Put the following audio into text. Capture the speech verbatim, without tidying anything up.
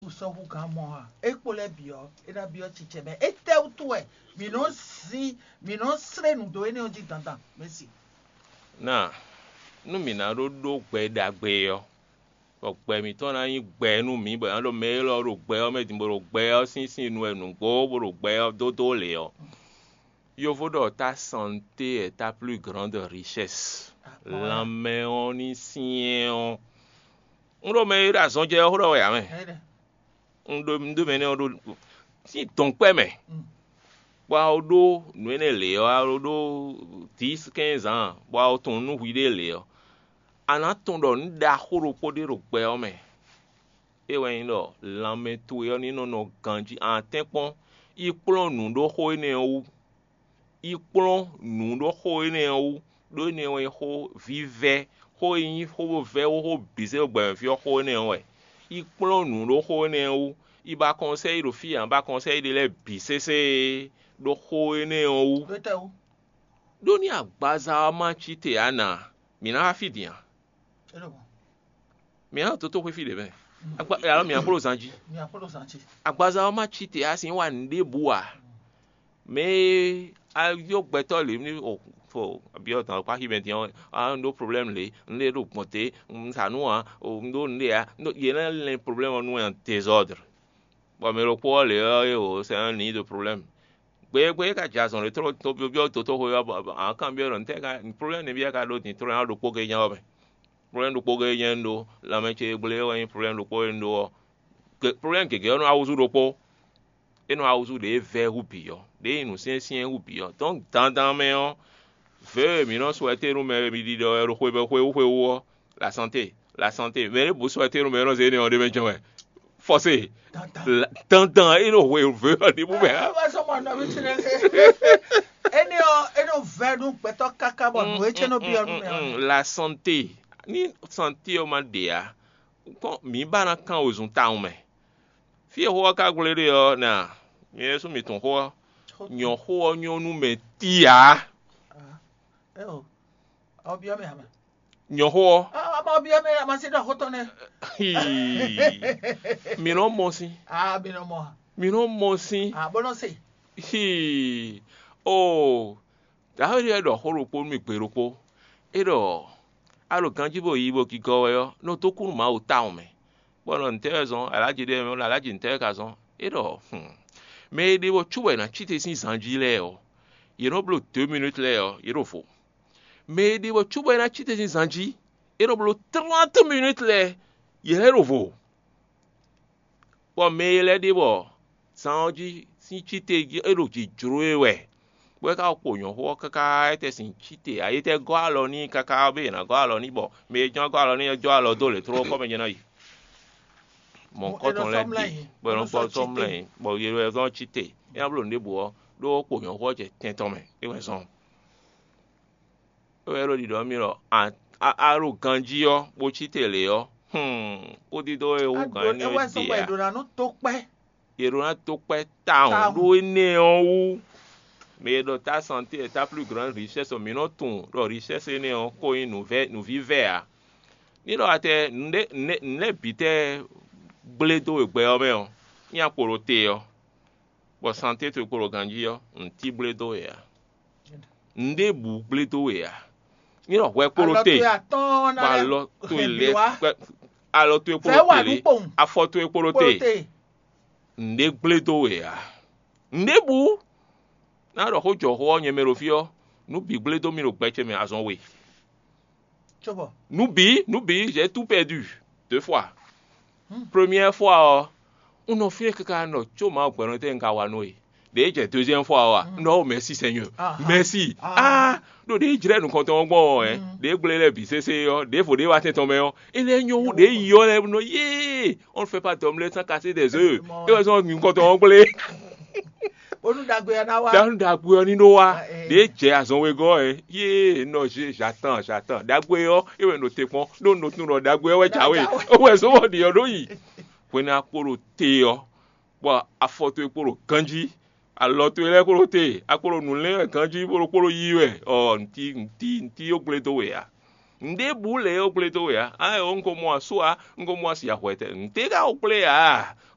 Sɔ́ hú gǎn mɔ ǎ. É kpo lɛ́ɛ bǐ ɔ́, é ná byɔ́ cicɛ mɛ. Étɛ́wútu wɛ mǐ nɔ zin mǐ nɔ slé nǔ dó énɛ́ ɔ́ jí dandan? Mɛ̌si. Ná nú mǐ ná ɖó ɖó gbɛ ɖagbe ɔ́, bɔ gbɛ mǐtɔn ná nyí gbɛ nú mǐ, bɔ è nǎ ɖo mɛ élɔ́ ɖo gbɛ ɔ́ mɛ din, bó ɖo gbɛ ɔ́ sín sin nu wɛ nǔgbó, bó ɖo gbɛ ɔ́ dódó lě ɔ́, yovo ɖɔ ta santé est ta plus grande richesse. Lanmɛ ɔ́ ní syɛ́n ɔ́. Un ɖo mɛ e ɖo azɔn jɛ ɔ́ xó ɖɔ wɛ ǎ mɛ. Un ɖo un ɖo mɛ énɛ́ ɔ́ ɖo sín dɔ̌nkpɛ́ mɛ, bɔ a ko ɖó nǔ énɛ́ lě ɔ́, a ko ɖó dǐs kɛ́nz ǎ, bɔ a ko tunwun nú hwiɖée lě ɔ́, a nǎ tunwun ɖɔ nǔ ɖaxó ɖokpó ɖé ɖo gbɛ ɔ́ mɛ. É wɛ nyí ɖɔ lanmɛ towe ɔ́ ní nɔ nɔ ganjí. A nǎ tɛ́nkpɔ́n, yi kplɔ́n nǔ ɖó xó énɛ́ ɔ́ wú. Yi kplɔ́n nǔ ɖó xó énɛ́ ɔ́ wú, ɖó énɛ́ wɛ nyí xó vívɛ́, xó e nyí xó vɛ́ xó xó bǐ zé ɖo gbɛmɛ fí ɔ́ xó énɛ́ ɔ́ wɛ. Yi kplɔ́n nǔ ɖó xó énɛ́ ɔ́ wú, yi ba kɔnsɛ́yi ɖo fí ǎ, ba kɔnsɛ́yi ɖé lɛ́ɛ bǐ sésé ɖó xó énɛ́ ɔ́ wú. Ɖó nú agbaza ɔ́ ma cí te ǎ nǎ, mǐ ná wá fí din a? Mǐ ná ɖo tótóxwé fí ɖě mɛ, alɔ mǐ ná kpló zan jí. Agbaza ɔ́ ma cí te ǎ, sin wa nǔɖébǔ ǎ. Mɛ e a yɔ gbɛtɔ́ lě ní o fo abyɔ́ tɔn kpá xi mɛ din ɔ́, a un ɖó problème lě, un ɖe ɖo gbɔn te, un sa nú ǎ, o un ɖó nǔɖé ǎ, yě ná lɛn problème ɔ́ nú ɛ désordre. Bɔ mɛ ɖokpó ɔ́ lě ɔ́ é o c'est un nid de problème. Gbe e gbe é ka jɛ azɔn ɖé tló tó byɔ́ dotóxwé ɔ́, bɔ a kan byɔ́ ɖɔ ntɛ́ ka problème nɛ́ byɔ́ ka ɖó din tló ná ɖokpó gé nyá ɔ́ mɛ. Problème ɖokpó gé nyɛ un ɖó, lanmɛ ce e gblé wɛ nyí problème ɖokpó e un ɖó ɔ́. Problème gěgé ɔ́ nɔ wá húzú ɖokpó. É nɔ wá húzú ɖě vɛ́ hú bǐ ɔ́, ɖě nyí nǔsyɛ́nsyɛ́n hú bǐ ɔ́. Dɔ̌n dandan mɛ ɔ́, vɛ̌ e mǐ nɔ sɔ́ ɛtɛ́nú mɛ e mi ɖiɖɔ wɛ ɖo xwebɛ́xwé wú xwe wú ɔ́, la santé, la santé. Mɛ ɖěbǔ sɔ́ ɛtɛ́nú mɛ e nɔ zé énɛ́ ɔ́ ɖ'é mɛ jɛ́n wɛ. Fɔse. Dandan é nɔ hwe vě ɔ́ ɖěbǔ mɛ ǎ. Énɛ́ ɔ́ é nɔ vɛ́ nú gbɛtɔ́ káká bɔ nǔ e cɛ́ nɔ byɔ́ nú mɛ ɔ́. La santé, ní santé ɔ́ ma ɖe ǎ, kpɔ́n mǐ ba ná kán wezun tawun mɛ. Fí e xó ɔ́ ka gblé ɖe ɔ́, nɛ a? Nyɛ ɖésú mi tunwun xó ɔ́. Nyɔ̌xó ɔ́ nyɔ́ nú mɛ tíi ǎ. Ɔ byɔ́ mɛ ǎ mɛ. Nyɔ̌xó ɔ́. Ɔ ma byɔ́ mɛ ǎ ma se ɖɔ xó tɔn nɛ́. Hii. Mi nɔ mɔ sín. A mi nɔ mɔ a. Mi nɔ mɔ sín. A bó nɔ se. Hii. Oo. Dǎwe lɛ́ɛ ɖɔ xó ɖokpó nú mì gbe ɖokpó. É ɖɔ a ɖo ganjí bó yi bó gigɔ wɛ ɔ́, nɔ dó kú nú Mawu tawun mɛ. Bɔ nɔ ntɛ́ wɛ zɔn alájí ɖé mɛ, alájí ntɛ́ wɛ ka zɔn? É ɖɔ mɛ e ɖe bɔ cóbɔ è nǎ cí te sín zan jí lɛ́ɛ ɔ́, yě nɔ bló deux minutes lɛ́ɛ ɔ́, yě ɖo vo. Mɛ e ɖe bɔ cóbɔ è nǎ cí te sín zan jí, é nɔ bló trente minutes lɛ́ɛ, yě lɛ́ ɖo vo. Bɔ mɛ e lɛ́ ɖe bɔ zan ɔ́ jí sín cí te é ɖo jǐ jló e wɛ, bɔ é ka kpo nyɔ̌xo ɔ́ káká é tɛ sín cí te, ayé tɛ gɔ́ alɔ n'i káká bɔ è nǎ gɔ́ alɔ n'i, bɔ mɛ e jɔ́n gɔ́ alɔ n'i ɔ́ jɔ́ alɔ dó lě tló kɔ́ mɛ jɛ́n ná yi. Mɔ̌hunkɔtɔn lɛ́ɛ bǐ, bɔ è nɔ gbɔ sɔ́ mlɛ́, bɔ yě wɛ zɔ́n cí te. É ná bló nǔɖébǔ ɔ́, ɖó kpo nyɔ̌xo ɔ́ jɛ tɛn tɔn mɛ, é wɛ zɔ́n. É wɛ ɖo ɖiɖɔ mì ɖɔ a ɖo ganjí ɔ́, bó cí te lě ɔ́, kúdídó e hú gǎn énɛ́ ɔ́ ɖe ǎ. È ɖǒ ná dó kpɛ́ tawun ɖó énɛ́ ɔ́ wú. Mɛ e ɖɔ ta santé est ta plus grande richesse ɔ́, mǐ nɔ tunwun ɖɔ richesse énɛ́ ɔ́ ko nyí nǔvívɛ́ ǎ. Ní ɖɔ atɛ nǔ lɛ́ɛ bǐ tɛ́ gblé dó we gbɛ ɔ́ mɛ ɔ́, nyí akpo ɖo te ɔ́, bɔ santé towe kpo ɖo ganjí ɔ́, nǔ tí gblé dó we ǎ. Nǔɖébǔ gblé dó we ǎ. Ní ɖɔ hwɛ kpo ɖo te, bɔ alɔ towe lɛ́ɛ alɔ towe kpo ɖo te lě, afɔ towe kpo ɖo te. Nǔɖé gblé dó we ǎ. Nǔɖébǔ ná ɖɔ xó jɔ xó ɔ́ nyɛ mɛ ɖo fí ɔ́, nǔ bǐ gblé dó mì ɖo gbɛ ce mɛ azɔn we. Nǔ bǐ, nǔ bǐ, j'ai tout perdu deux fois. Première fois ɔ́, un nɔ fínɛ́ káká nɔ có Mawu gbɛ́nɔ tɛ́ un ka wa nú we. Ɖě jɛ deuxième fois ɔ́ a, un ɖɔ ó merci Seigneur, merci. Ah, ɖo ɖě jlɛ́ nukɔntɔn ɔ́ gbɔn ɔ́, ɖě gblé lɛ́ɛ bǐ sésé ɔ́, ɖěvo ɖě wá tɛn tɔn mɛ ɔ́, é lɛ́ nyɔ́ hú ɖě yi ɔ́ lɛ́ɛ nɔ yé, on ne fait pas d'omelette sans casser des œufs. É wɛ zɔn nukɔntɔn ɔ́ gblé. Bónú ɖagbe ɔ́ ná wá. Ɖanu ɖagbe ɔ́ ní ɖó wá. Ɖě jɛ azɔn wegɔ́ ɛ, yé nɔ zé j'attends j'attends. Ɖagbe ɔ́ é wɛ ɖo te kpɔ́n, ɖó un ɖo tunwun ɖɔ ɖagbe ɔ́ wɛ jǎwe. Ó wɛ zɔn bɔ ɖě ɔ́ ɖó yi. Hwenu akpo ɖo te ɔ́, bɔ afɔ towe kpo ɖo ganjí, alɔ towe lɛ́ɛ kpo ɖo te, akpo ɖo nǔ lɛ́ɛ wɛ ganjí, bó ɖo kpo ɖo yí wɛ, ɔ ntí ntí ntí ó gblé dó we ǎ. Nǔɖébǔ lě ó gblé dó we ǎ. Á ɛ ó un ko mɔ asú ǎ, un ko mɔ asi ahwɛ tɛ. Nǔtɛ́ ka ó gblé ǎ?